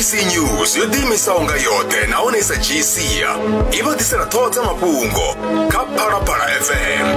Sabc News yo ḓiimisaho nga yoṱhe nahone i sa dzhii sia i vha ḓisela ṱhoho dza mafhungo kha Phalaphala FM.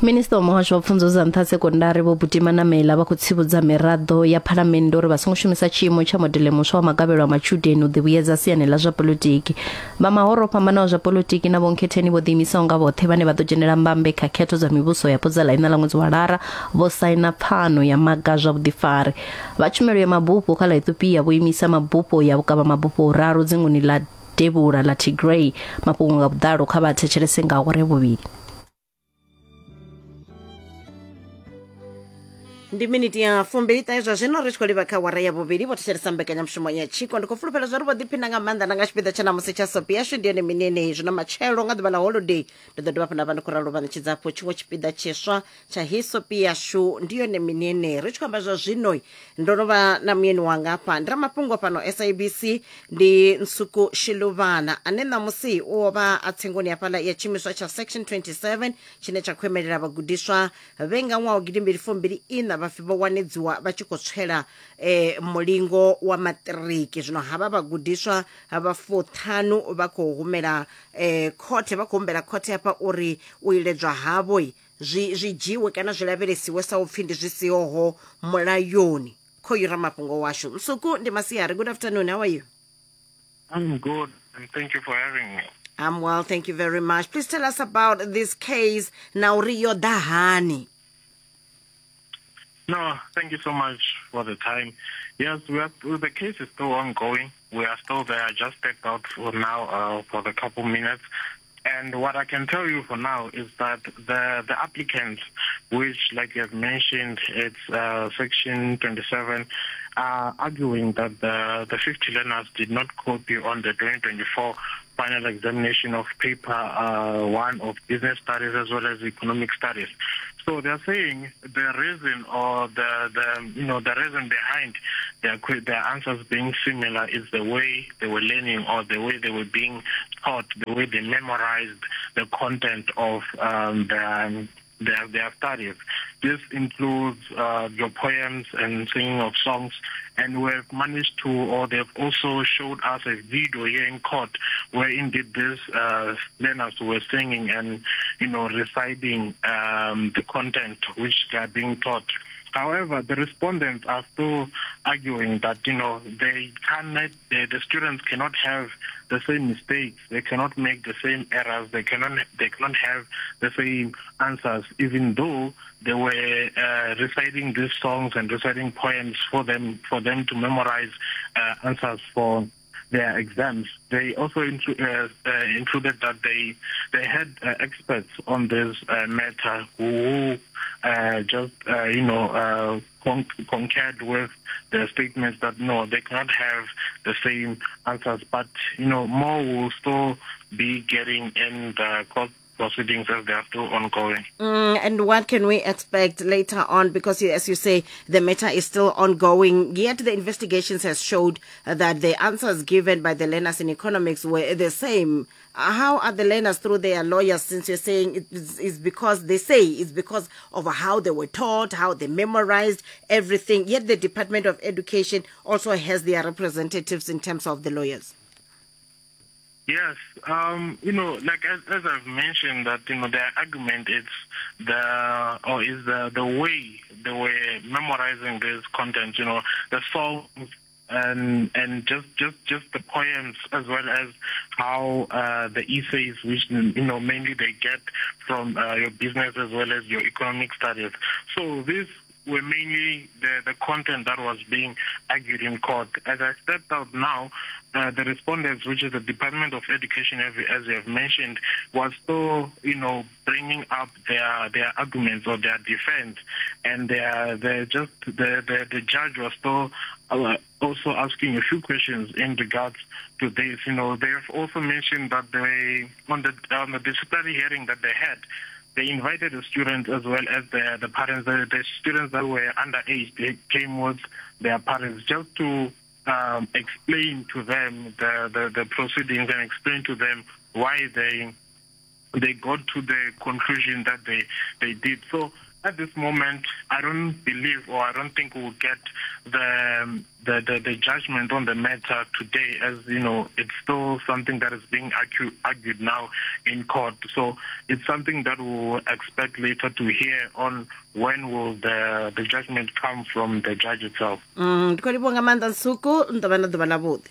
Minisiṱa wa muhasho wa pfunzo dza nṱha sekondari Vho Buti Manamela vha khou tsivhudza miraḓo ya phalamennde uri vha songo shumisa tshiimo tsha modele muswa wa magavhelo a matshudeni u ḓivhuyedza siani ḽa zwa polotiki. Vha mahoro o fhambanaho zwa polotiki na vhonkhetheni vho ḓiimisaho nga vhoṱhe vhane vha ḓo dzhenela mbambe kha khetho dza mivhuso yapo dza ḽa iṋa ḽa ṅwedzi wa Lara vho saina pfano ya maga zwa vhuḓifari. Vha tshumelo ya mabufho kha ḽa Ethiopia vho imisa mabufho ya vhukavha mabufho huraru dzinguni ḽa devhula ḽa Tigray. Mafhungo nga vhuḓalo kha vha thetshelese nga awara ya vhuvhili. Ndi miniti ya fumbili ṱahe zwa zwino ri tshi khou livha kha wara ya vhuvhili. Vho thetshelesa mbekanyamushumo ya tshiko. Ndi khou fulufhela zwa uri vho ḓiphina nga maanḓa na nga tshipiḓa tsha namusi tsha sopi yashu ndi yone mini yeneyi. Zwino matshelo nga ḓuvha ḽa holiday ndi ḓo dovha hafhu nda vha ndi khou ralo vha ṋetshedza hafhu tshiṅwe tshipiḓa tshiswa tsha hei sopi yashu ndi yone mini yeneyi. Ri tshi khou amba zwa zwino ndo no vha na muyeni wanga hafha, ndi ramafhungo fhano SABC, ndi Nsuku Shiluvana ane ṋamusi u vha a tsengoni hafhaḽa ya tshiimiswa tsha Section 27 tshine tsha khou imelela vhagudiswa vhe nga ṅwaha wa gidimbili fumbili iṋa vha pfi vho wanedziwa vha tshi khou tswela mulingo wa maṱiriki. Zwino havha vhagudiswa vha fuṱhanu vha khou humela khothe, vha khou humbela khothe hafha uri u iledzwa havho zwi zwi dzhiwe kana zwi lavhelesiwe sa upfi ndi zwi sihoho mulayoni. Khoyu ramafhungo washu Nsuku, ndi masiari. Good afternoon, how are you? I'm good, and thank you for having me. I'm well, thank you very much. Please tell us about this case na uri yo ḓa hani. No, thank you so much for the time. Yes, the case is still ongoing. We are still there. I just stepped out for now for the couple minutes. And what I can tell you for now is that the applicants, which, like you have mentioned, it's Section 27, are arguing that the 50 learners did not copy on the 2024 final examination of paper 1 of business studies as well as economic studies. So they're saying the reason or the you know the reason behind their answers being similar is the way they were learning or the way they were being taught, the way they memorized the content of their studies. This includes your poems and singing of songs, and we've managed to, or they've also showed us a video here in court where indeed these learners were singing and, you know, reciting the content which they are being taught. However, the respondents are still arguing that, you know, they cannot, the students cannot have the same mistakes, they cannot make the same errors, they cannot have the same answers, even though they were reciting these songs and reciting poems for them to memorize answers for their exams. They also included that they had experts on this matter who concurred with the statements that no, they cannot have the same answers. But, you know, more will still be getting in the court proceedings as they are still ongoing. And what can we expect later on? Because, as you say, the matter is still ongoing. Yet the investigations has showed that the answers given by the learners in economics were the same. How are the learners through their lawyers, since you're saying it's because they say it's because of how they were taught, how they memorized everything. Yet the Department of Education also has their representatives in terms of the lawyers. Yes, you know, like as I've mentioned that, you know, their argument is the way they were memorizing this content, you know, the songs and just the poems, as well as how the essays, which, you know, mainly they get from your business as well as your economic studies. So this were mainly the content that was being argued in court. As I stepped out now, the respondents, which is the Department of Education, as you have mentioned, was still, you know, bringing up their arguments or their defense, and the judge was still also asking a few questions in regards to this. You know, they have also mentioned that they on the disciplinary hearing that they had, they invited the students as well as the parents. The students that were underage, they came with their parents just to explain to them the proceedings and explain to them why they got to the conclusion that they did. So At this moment, I don't believe or I don't think we'll get the, the, the, the judgment on the matter today, as you know, it's still something that is being argued now in court. So it's something that we'll expect later to hear on when will the, the judgment come from the judge itself. Mm, ndi khou livhuwa nga maanḓa Nsuku, ni ḓo vha na ḓuvha ḽavhuḓi.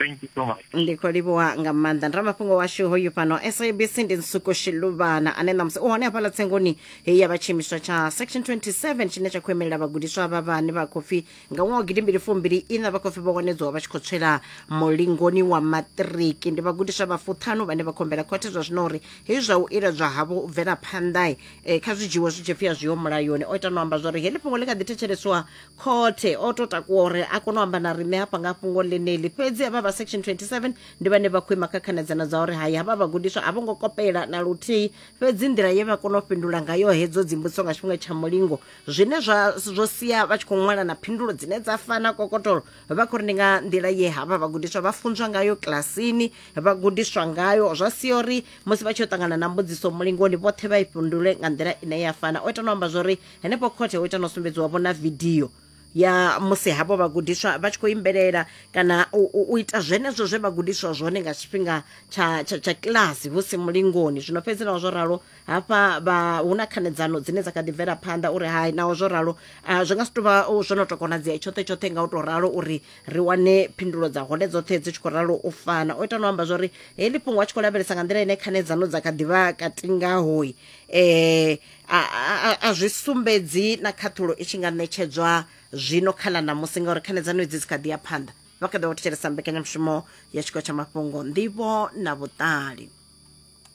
Thank you so much. Ndi khou livhuwa nga maanḓa. Ndi ramafhungo washu hoyu fhano SABC ndi Nsuku Shiluvana ane ṋamusi u hone hafhaḽa tsengoni heyi ya vha tshiimiswa tsha Section 27 tshine tsha khou imelela vhagudiswa vha vhane vha khou pfi nga ṅwaha wa gidimbili fumbili ina vha khou pfi vho wanedzwa vha tshi khou tswela mulingoni wa maṱiriki. Ndi vhagudiswa vha fuṱhanu vhane vha khou humbela khothe zwa zwino uri hezwi zwa u iledzwa havho u bvela phanḓa kha zwi dzhiwe zwi tshi pfi a zwiho mulayoni. O ita no amba zwa uri heḽi fhungo ḽi kha ḓi thetsheleswa khothe, o to takuwa uri a kone u amba na riṋe hafha nga fhungo ḽeneḽi. Fhedzi havha vha Section 27 ndi vhane vha khou ima kha khanedzano dza uri hai, havha vhagudiswa a vho ngo kopela na luthihi, fhedzi nḓila ye vha kona u fhindula ngayo hedzo dzimbudziso nga tshifhinga tsha mulingo, zwine zwa zwo sia vha tshi khou ṅwala na phindulo dzine dza fana kokotolo, vha khou ri ndi nga nḓila ye havha vhagudiswa vha funzwa ngayo kilasini, vha gudiswa ngayo, zwa sia uri musi vha tshi yo ṱangana na mbudziso mulingoni vhoṱhe vha i fhindule nga nḓila ine ya fana. O ita no amba zwori henefho khothe ho ita no sumbedziwa vho na vidio ya musi havho vhagudiswa vha tshi khou imbelela kana u ita zwenezwo zwe vha gudiswa zwone nga tshifhinga tsha, tsha, tsha kilasi hu si mulingoni. Zwino fhedzi naho zwo ralo hafha vha hu na khanedzano dzine dza kha ḓi bvela phanḓa uri hai, naho zwo ralo zwi nga si tou vha zwo no tou konadzea tshoṱhe tshoṱhe nga u tou ralo uri ri wane phindulo dza hone dzoṱhe dzi tshi khou ralo u fana. O ita no amba zwori heḽi fhungo a tshi khou lavhelesa nga nḓila ine khanedzano dza kha ḓi vha kati ngahoi a, a, a zwi sumbedzi na khaṱhulo i tshi nga ṋetshedzwa zwino kha ḽa ṋamusi ngauri khanedzano idzi dzi kha ḓi ya phanḓa. Vha kha ḓi vha thetshelesa mbekanyamushumo ya tshiko tsha mafhungo, nḓivho na vhuṱali.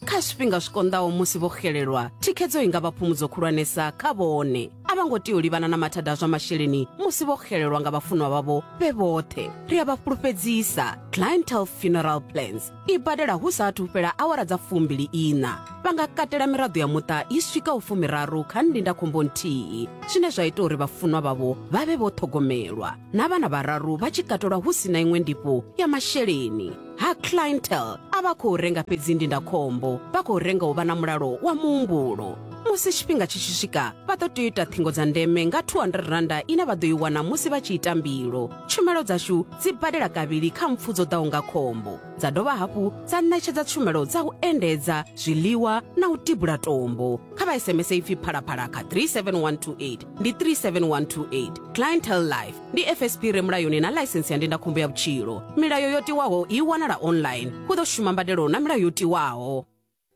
Kha zwifhinga zwi konḓaho musi vho xelelwa, thikhedzo i nga vha phumudzo khulwanesa kha vhone. A vha ngo tea u livhana na mathada a zwa masheleni musi vho xelelwa nga vhafunwa vhavho vhe vhoṱhe. Ri a vha fhulufhedzisa, Clientele Funeral Plans i badela hu sa athu fhela awara dza fumbili iṋa. Vha nga katela miraḓo ya muṱa i swikaho fumiraru kha ndindakhombo nthihi, zwine zwa ita uri vhafunwa vhavho vha vhe vho ṱhogomelwa, na vhana vhararu vha tshi katelwa hu si na iṅwe ndifho ya masheleni. Ha Clientele a vha khou renga fhedzi ndindakhombo, vha khou renga u vha na mulalo wa muhumbulo. Musi tshifhinga tshi tshi swika, vha ḓo tea u ita ṱhingo dza ndeme nga R200 ine vha ḓo i wana musi vha tshi ita mbilo. Tshumelo dzashu dzi badela kavhili kha mpfu dzo ḓaho nga khombo, dza dovha hafhu dza ṋetshedza tshumelo dza u endedza, zwiḽiwa na u tibula tombo. Kha vha SMS ipfi Phalaphala kha 37128, ndi 37128. Clientele Life ndi FSP re mulayoni na ḽaisensi ya ndindakhombo ya vhutshilo. Milayo yo tiwaho i wanala online. Hu ḓo shuma mbadelo na milayo yo tiwaho.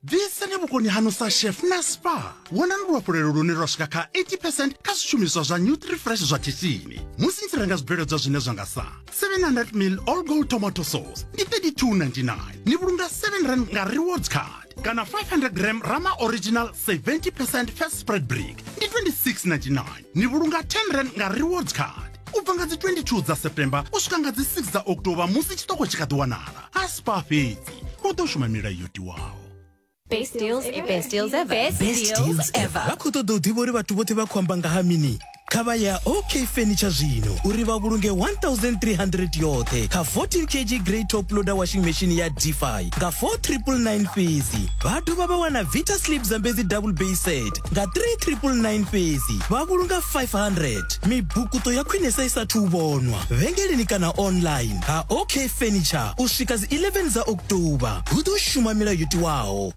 Bvisani vhukoni haṋu sa chef na spa. Wanani luhafhulelo lune lwa swika kha 80 percent kha zwishumiswa zwa Nutrifresh zwa khishini musi ni tshi renga zwibveledzwa zwine zwa nga sa 700 ml all gold tomato sauce ndi 32.99, ni vhulunga 7 rand nga rewards card, kana 500 gram Rama original 70 percent fat spread brick ndi 26.99, ni vhulunga 10 rand nga rewards card. U bva nga dzi 22 dza September u swika nga dzi 6 dza October musi tshiṱoko tshi kha ḓi wanala ha Spar fhedzi, hu ḓo shuma milayo yo tiwaho. Best deals ever. Best deals ever. Best, Best deals ever. Vha khou ṱoḓa u ḓivha uri vhathu vhoṱhe vha khou amba nga ha mini? Kha vha ya OK Furniture zwino uri vha vhulunge 1300 yoṱhe kha 14 kg grey top loader washing machine ya Defy nga 4999 fhedzi. Vha dovha vha wana Vita Sleep Zambezi double bay set nga 3999 fhedzi, vha vhulunga 500. Mibukuṱo ya khwinesa i sathu u vhonwa vhengeleni kana online ha OK Furniture u swika dzi 11 dza October. Hu ḓo shuma milayo yo tiwaho.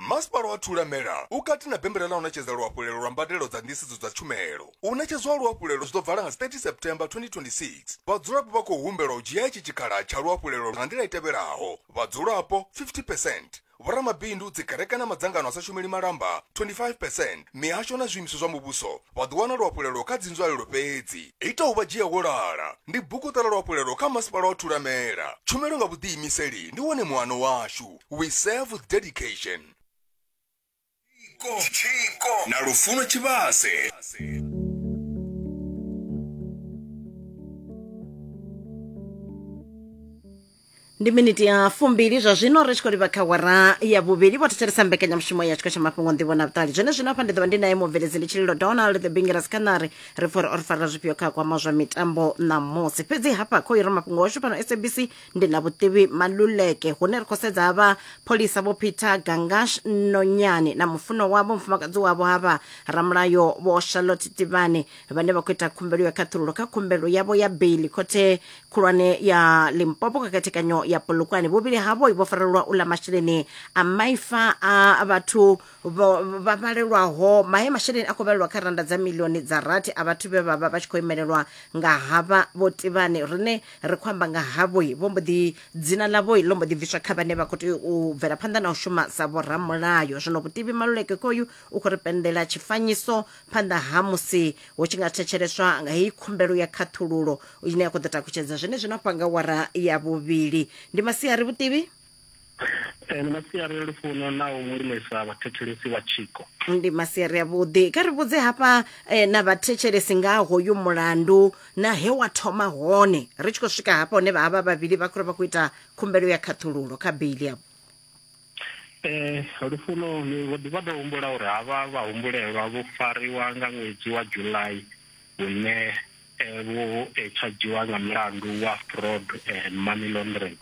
Masipala wa Thulamela u kati na bembela ḽa u ṋetshedza luhafhulelo lwa mbadelo dza nḓisedzo dza tshumelo. U ṋetshedzwa ha luhafhulelo zwi ḓo vala nga dzi 30 September 2026. Vhadzulapo vha khou humbelwa u dzhia itshi tshikhala tsha luhafhulelo nga nḓila i tevhelaho, vhadzulapo 50 percent, vhoramabindu, dzikereke na madzangano a sa shumeli malamba 25 percent, mihasho na zwiimiswa zwa muvhuso vha ḓo wana luhafhulelo kha dzinzwalelo fhedzi. Ita u vha dzhia wo lala ndi buguṱa ḽa luhafhulelo kha Masipala wa Thulamela. Tshumelo nga vhuḓiimiseli ndi wone muano washu. We serve with dedication. Tshiko na Lufuno Tshivhase. Ndi miniti ya 20 zwa zwino ri tshi khou livha kha wara ya vhuvhili. Vho thetshelesa mbekanyamushumo ya tshiko tsha mafhungo nḓivho na vhuṱali. Zwene zwino hafha ndi ḓo vha ndi naye mubveledzi ndi Tshililo Donald the Bingiras Khanari, ri pfa uri o ri farela zwifhio kha kwama zwa mitambo ṋamusi. Fhedzi hafha kho ira mafhungo washu fhano SABC ndi na Vhutivi Maluleke, hune ri khou sedza havha pholisa Vho Peter Gangash Nonyane na mufuno wavho, mufumakadzi wavho havha ramulayo Vho Charlotte Tivane, vhane vha khou ita khumbelo ya khaṱhululo kha khumbelo yavho ya beili khothe khulwane ya Limpopo kha khethekanyo ya Polokwane. Vhuvhili havho vho farelwa u ḽa masheleni a maifa a vhathu vha vhalelwaho mahe masheleni a khou vhalelwa kha randa dza milioni dza rathi a vhathu vhe vha vha vha tshi khou imelelwa nga havha Vho Tivane. Rine ri khou amba nga havho, vho mbo ḓi dzina ḽavho ḽo mbo ḓi bviswa kha vhane vha khou tea u bvela phanḓa na u shuma sa vhoramulayo. Zwino Vhutivi Maluleke khoyu u khou ri pendela tshifanyiso phanḓa ha musi hu tshi nga thetsheleswa nga heyi khumbelo ya khaṱhululo ine ya khou ḓo takutshedza zwenezwino hafha nga wara ya vhuvhili. Ndi masiari Vhutivi. Ndi masiari Lufuno na u lumelisa vhathetshelesi vha Tshiko. Ndi masiari avhuḓi. Kha ri vhudze hafha na vhathetshelesi nga hoyu mulandu na he wa thoma hone ri tshi khou swika hafha hune vha havha vhavhili vha khou ri vha khou ita khumbelo ya khaṱhululo kha beili yavho. Lufuno, ni vho ḓi vha ḓo humbula uri havha vhahumbulelwa vho fariwa nga ṅwedzi wa July hune vho tshadziwa nga mulandu wa fraud and money laundering,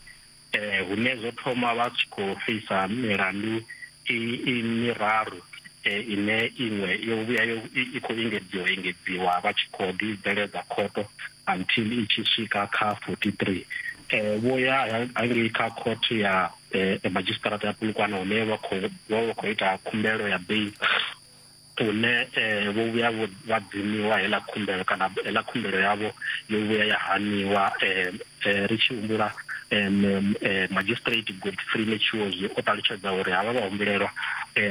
hune zwo thoma vha tshi khou feisa milandu i miraru ine iṅwe yo vhuya yo i khou engedziwa engedziwa vha tshi khou ḓi bveledza khoto until i tshi swika kha 43. Vho ya hangei kha court ya madzhisiṱaraṱa ya Polokwane hune vha khou vha khou ita khumbelo ya bail, hune vho vhuya vha dzimiwa heiḽa khumbelo kana heiḽa khumbelo yavho yo vhuya ya haniwa. Ri tshi humbula Magistrate Godfrey Netshiozwi o ṱalutshedza uri havha vhahumbulelwa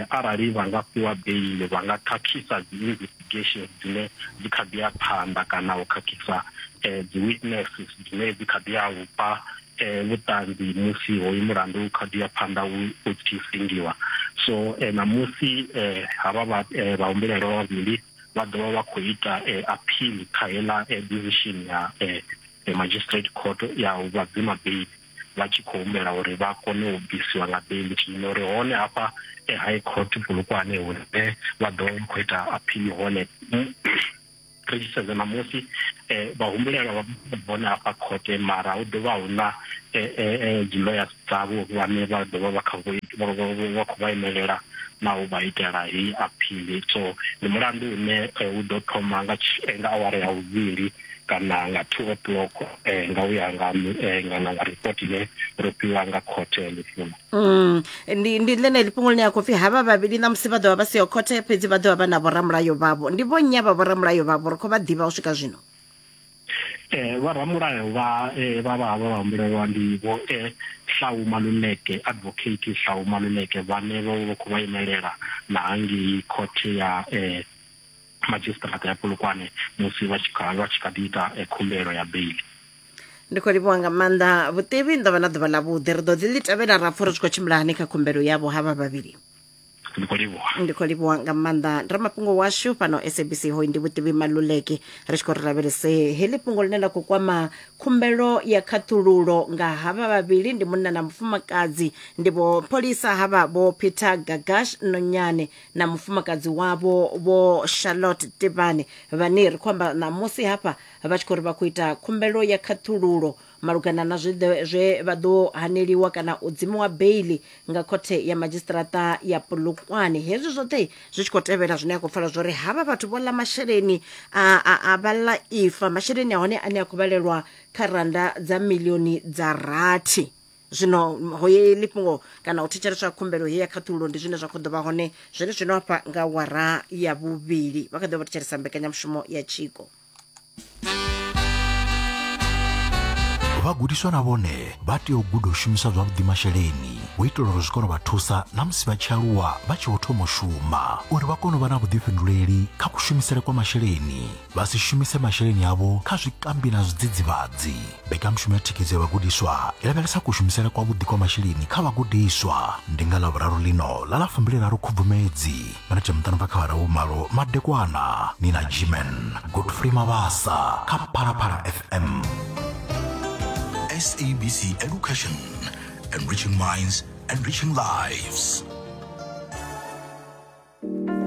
arali vha nga fhiwa beili vha nga khakhisa dzi investigations dzine dzi kha ḓi ya phanḓa kana u khakhisa dzi witnesses dzine dzi kha ḓi ya u fha vhuṱanzi musi hoyu mulandu u kha ḓi ya phanḓa u tshi sengiwa. So ṋamusi havha vhahumbulelwa vhavhili vha ḓo vha vha khou ita appeal kha heiḽa decision ya magistrate court ya u vha dzima beili, vha tshi khou humbela uri vha kone u bvisiwa nga beili. Zwino ri hone hafha High Court Polokwane hune vha ḓo vha vha khou ita appeal hone. Ri tshi sedza ṋamusi vhahumbulelwa vha hone hafha khothe, mara hu ḓo vha hu na dzi lawyers dzavho vhane vha ḓo vha vha kha vha khou vha imelela na u vha itela heyi appeal. So ndi mulandu une u ḓo thoma nga nga awara ya vhuvhili kana nga 2 o'clock nga u ya nga nga report ine ro fhiwa nga khothe Lufuno. Ndi ḽeneḽi fhungo ḽine ya khou pfi havha vhavhili ṋamusi vha ḓo vha vha siho khothe, fhedzi vha ḓo vha vha na vhoramulayo vhavho. Ndi vho nnyi avha vhoramulayo vhavho? Ri khou vha ḓivha u swika zwino. Vhoramulayo vha vha vha havha vhahumbulelwa ndi Vho Hlau Maluleke, Advocate Hlau Maluleke, vhane vho vha khou vha imelela na hangei khothe ya madzhisiṱiraṱa ya Polokwane musi vha tshi kha vha tshi kha ḓi ita khumbelo ya beili. Ndi khou livhuwa nga maanḓa Vhutivi, ni ḓo vha na ḓuvha ḽavhuḓi. Ri ḓo ḓi ḽi tevhela ra pfa uri zwi khou tshimbila hani kha khumbelo yavho havha vhavhili. Ndi khou livhuwa. Ndi khou livhuwa nga maanḓa. Ndi ramafhungo washu fhano SABC, hoyu ndi Vhutivi Maluleke. Ri tshi khou ri lavhelese heḽi fhungo ḽine ḽa khou kwama khumbelo ya khaṱhululo nga havha vhavhili, ndi munna na mufumakadzi, ndi vho pholisa havha Vho Peter Gagash Nonyane na mufumakadzi wavho Vho Charlotte Tibane, vhane ri khou amba ṋamusi hafha vha tshi khou ri vha khou ita khumbelo ya khaṱhululo malugana na zwe zwe vha ḓo haneliwa kana u dzimiwa beili nga khothe ya madzhisiṱiraṱa ya Polokwane. Hezwi zwoṱhe zwi tshi khou tevhela zwine a khou pfala zwori havha vhathu vho ḽa masheleni a a a vha ḽa ifa, masheleni a hone ane a khou vhalelwa kha randa dza milioni dza rathi. Zwino heḽi fhungo kana u thetsheleswa khumbelo heyi ya khaṱhululo ndi zwine zwa khou ḓo vha hone zwene zwino hafha nga wara ya vhuvhili. Vha kha ḓi vha thetshelesa mbekanyamushumo ya Tshiko. Vhagudiswa na vhone vha tea u guda u shumisa zwavhuḓi masheleni u itela uri zwi kone u vha thusa na musi vha tshi aluwa vha tshi vho thoma u shuma, uri vha kone u vha na vhuḓifhinduleli kha kushumisele kwa masheleni, vha si shumise masheleni avho kha zwikambi na zwidzidzivhadzi. Mbekanyamushumo ya thikhedzo ya vhagudiswa i lavhelesa kushumisele kwavhuḓi kwa masheleni kha vhagudiswa. Ndi nga Ḽavhuraru ḽino ḽa ḽa 23 Khubvumedzi, minete muṱanu bva kha awara ya vhumalo madekwana, ni na Gman Godfrey Mabasa kha Phalaphala FM. SABC Education, enriching minds, enriching lives.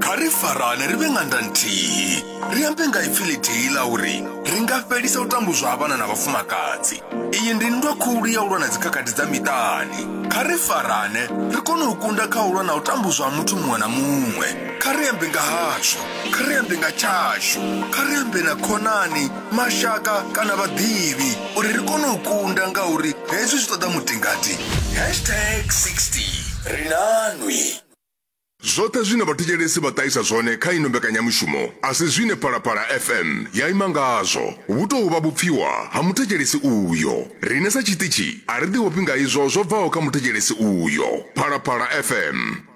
Kha ri farane ri vhe ṅanda nthihi ri ambe nga ipfi ḽithihi ḽa uri ri nga fhelisa u tambudzwa ha vhana na vhafumakadzi. Iyi ndi nndwa khulu ya u lwa na dzikhakhathi dza miṱani. Kha ri farane ri kone u kunda kha u lwa na u tambudzwa ha muthu muṅwe na muṅwe. Kha ri ambe nga hazwo, kha ri ambe nga tshashu, kha ri ambe na khonani, mashaka kana vhaḓivhi uri ri kone u kunda ngauri hezwi zwi ṱoḓa mutingati. Hashtag 60 Ri na nwi. Zwoṱhe zwine vhathetshelesi vha ṱahisa zwone kha ino mbekanyamushumo a si zwine Phalaphala FM ya ima ngazwo. Vhu tou vha vhupfiwa ha muthetshelesi uyo. Riṋe sa tshiṱitshi a ri ḓiofhi nga izwo zwo bvaho kha muthetshelesi uyo. Phalaphala FM.